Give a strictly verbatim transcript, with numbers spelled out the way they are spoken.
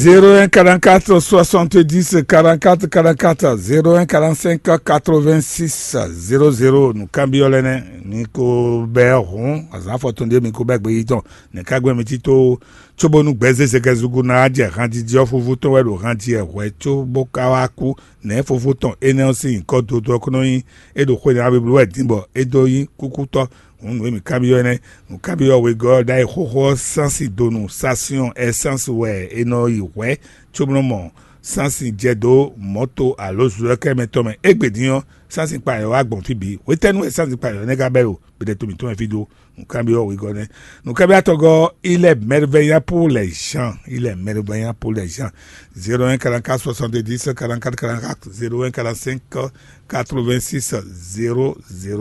Zéro un quarante-quatre soixante-dix quarante-quatre quarante-quatre, zéro un quarante-cinq quatre-vingt-six zéro zéro. Nǔkanbyɔ́ lɛ́ɛ nɛ́, mi ko bɛ́ hǔn azǎn afɔtɔn ɖé mi ko bɛ́ gbeyíɖɔ. Nɛ̌ ka gbɛ́ mi tito cóbónú gbɛzézegɛzúgu ná jɛ hanjiji ɔ́ fúfú tɔn wɛ ɖo hanji ɛ hwɛ có bó ka wá kú? Nɛ̌ fofó tɔn énɛ́ ɔ́ sín nyǐkɔ dodó ɔ́ kó nɔ nyí? É ɖo xwe ná bló wɛ dín bɔ é dó nyí kúkútɔ́. Hǔn nǔ e mǐ kanbyɔ́ énɛ́, nǔkanbyɔ́ wegɔ́ ɔ́ ɖ'ayǐ xóxó ɔ́, sánsi donu sásíɔn ɛsánsi wɛ è nɔ yi hwɛ̌ cóbó nɔ mɔ sánsi jɛ dó mɔ̌to alo zlɔ́kɛ́ mɛ tɔn mɛ. Égbé din ɔ́, sánsi kpa yɔ̌ wá gbɔn fí bǐ. Hwetɛ́nu wɛ sánsi kpa yɔ̌ nɛ́ ka bɛ́ ɖo gbɛɖɛto mǐtɔn mɛ fí dó? Nǔkanbyɔ́ wegɔ́ nɛ́. Nǔkanbyɔ́ atɔngɔ́, il est merveilleux pour les gens. Il est merveilleux pour les gens. Zéro un quarante-quatre soixante-dix quarante-quatre quarante-quatre, zéro un quarante-cinq quatre-vingt-six zéro zéro.